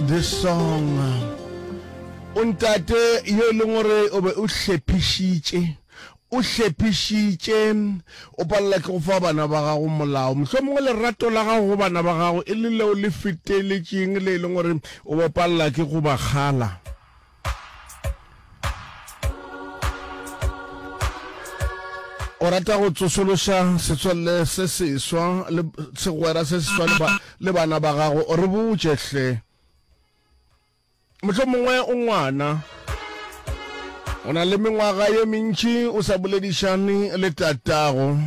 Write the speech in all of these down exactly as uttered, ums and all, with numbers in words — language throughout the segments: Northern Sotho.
This song. O ntate yo e leng gore o be o hlephišitše, o hlephišitše, o palela ke go fa bana ba gago molao. Mohlomongwe lerato la gago go bana ba gago e le leo le feteletšeng le e leng gore o bo palela ke go ba kgala. O rata go tsošološa setswalle se seswa le segwera se seswa le, ba, le bana ba gago. O re botše hle. Mohlomongwe o ngwana. O na le mengwaga ye mentši o sa boledišane le tatago.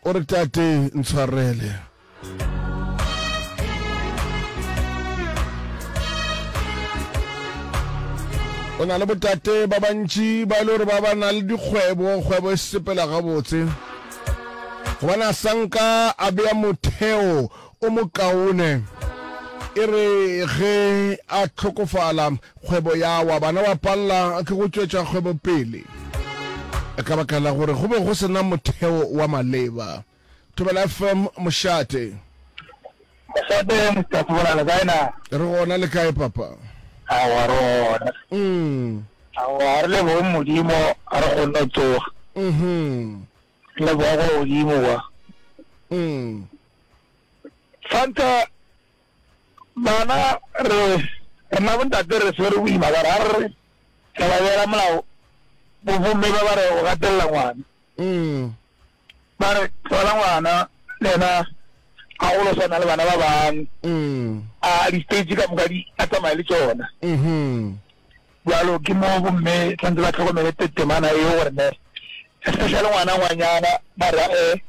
O re, Tate, ntshwarele. O na le botate ba bantši ba e le gore ba ba na le dikgwebo, kgwebo e sepela gabotse. Gobane a sanka a bea motheo o mokaone. E re ge a hlokofala, kgwebo ya wa, bana ba palela ke go tšwetša kgwebo pele ka baka la gore go be go se na motheo wa maleba. Thobela F M, mošate. Mošate, Mister Sebola, le kae na? Re gona, le kae papa? Aowa, re gona. Mm. Aowa, re leboge Modimo, a re kgonne go tsoga. Mhm. Re leboga go godimo kwa. Mm. Fanta bana re rena bontate re swere boima ka gore ga re re re ba beela molao bo bomme ba ba re o gatelela ngwana. Mm. Ba re tlogela ngwana le yena a golo swana le bana ba bangwe. Mm. A di-stage ka moka di a tsamaye le tšona. Mhm. Bjalo ke mo bomme tshwanetse ba tlhokomele temana eo gore ne especially ngwana ngwanyana ba re eh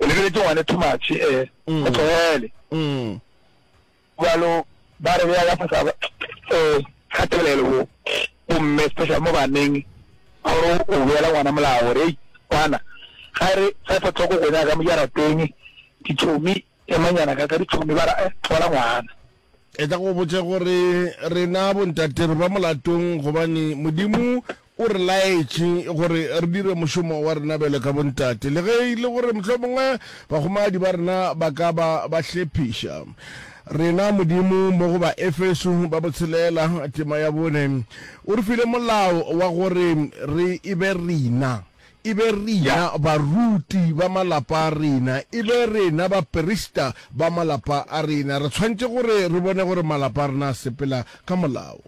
o lebeletše ngwane too much eh Mm. o tlogele. Mm. Bjalo ba re beya ka fasa eh kgatelelo bo bomme especially mo baneng a gore o beela ngwana molao gore ei ngwana ga e re five o'clock go nyaka mo jarateng ditšhomi emanyana ka ka ditšhomi ba re eh tlogela ngwana. E tla go botša gore rena bontate re ba molatong gobane Modimo o re laetše gore re dire mošomo wa rena bjalo ka bontate, le ge e le gore mohlomongwe bahumagadi ba rena ba ka ba ba hlephiša rena. Modimo mo go Baefeso ba botshelela tema ya bone o re file molao wa gore re e be rena E be rena baruti ba malapa a rena, e be rena baprista ba malapa a rena. Re tshwanetše gore re bone gore malapa a rena a sepela ka molao.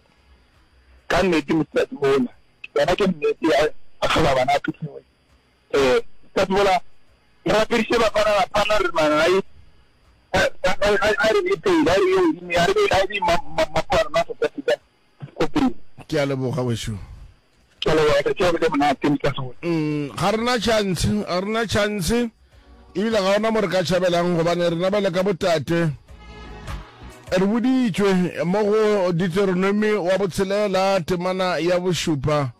Ka nnete Mister Sebola, yona ke nnete ya a hlola bana a phuthiwe. Eh, Mister Sebola, re rapediše bafana bafana re man ai a re be pele, a re ye godimo, a re be a be mapo a rena South Africa ko pele. Ke a leboga wešo. Ke a leboga, tšatši la le monate Mister Sebola. Mm, ga rena chance, ga rena chance, ebile ga ona mo re ka tšhabelang gobane rena bjale ka botate re boditšwe mo go Deuteronomy wa botshelela temana ya bošupa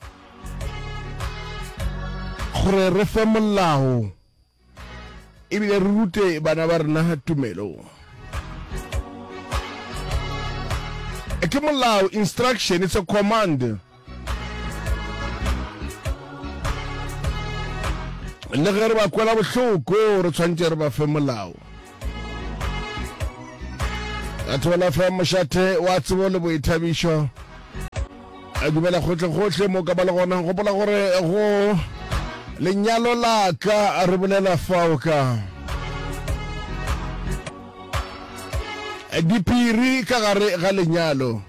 gore re fe molao ebile re rute bana ba rena tumelo. Ke molao, instruction, it's a command. Le ge re ba kwela bohloko, re tshwanetse re ba fe molao. Batho ba la fa mošate wa tsebo le boithabišo. A dumela gohle-gohle mo ka ba le gona. Gopola gore go lenyalo la ka re bolela fao ka diphiri ka gare ga lenyalo.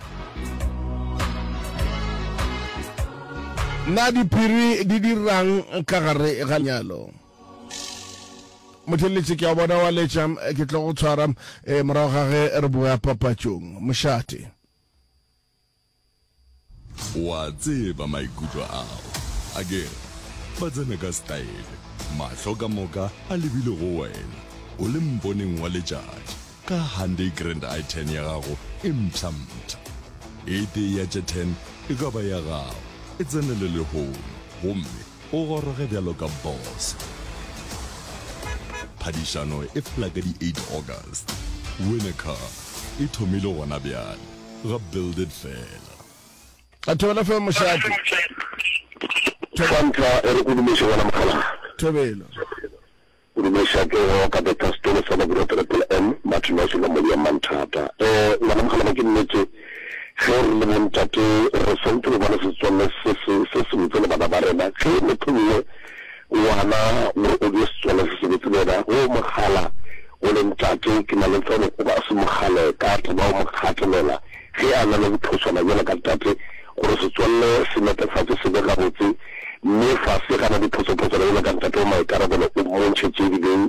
Na diphiri di dirang ka gare ga lenyalo? Motheletši ke a bona wa letša, ke tlo go tshwara eh, morago ga ge re boya papatšong. Mošate. O a tseba maikutlo ao. Akere ba tsena ka setaele, mahlo ka moka a lebile go wena, o le mponeng wa letšatši, ka Hyundai Grand i ten ya gago e mpsha-mpsha. E tee ya tše ten e ka ba ya gago. E tsenele lehono gomme o goroge bjalo ka boss. Phadišano e fela ka di eight August. Win a car e thomile gona bjale. Ga Build It fela. A thobela fe mošate. Sa ntlha e re go dumeše gona mogala. Thobela. O ka betha setolo sa Babura Triple M, Martin wa Solomon ya Manthata. Eh, ngwana Mokgalabje ke nnete, ge re le bontate re swanetše go ba le setswalle se se se sebotse le bana ba rena. Ge mohlomongwe ngwana gore o be setswalle se sebotse le yena, ge o mo kgala o le ntate, ke na le tsebo o ka se mo kgale ka taba o mo gatelela ge a na le bophoswana bjalo ka tate, gore setswalle se netefatše se be gabotse. Mme fase ga na diphosophoswana bjalo ka ntate wa maikarabelo o mmontšhe tše di beng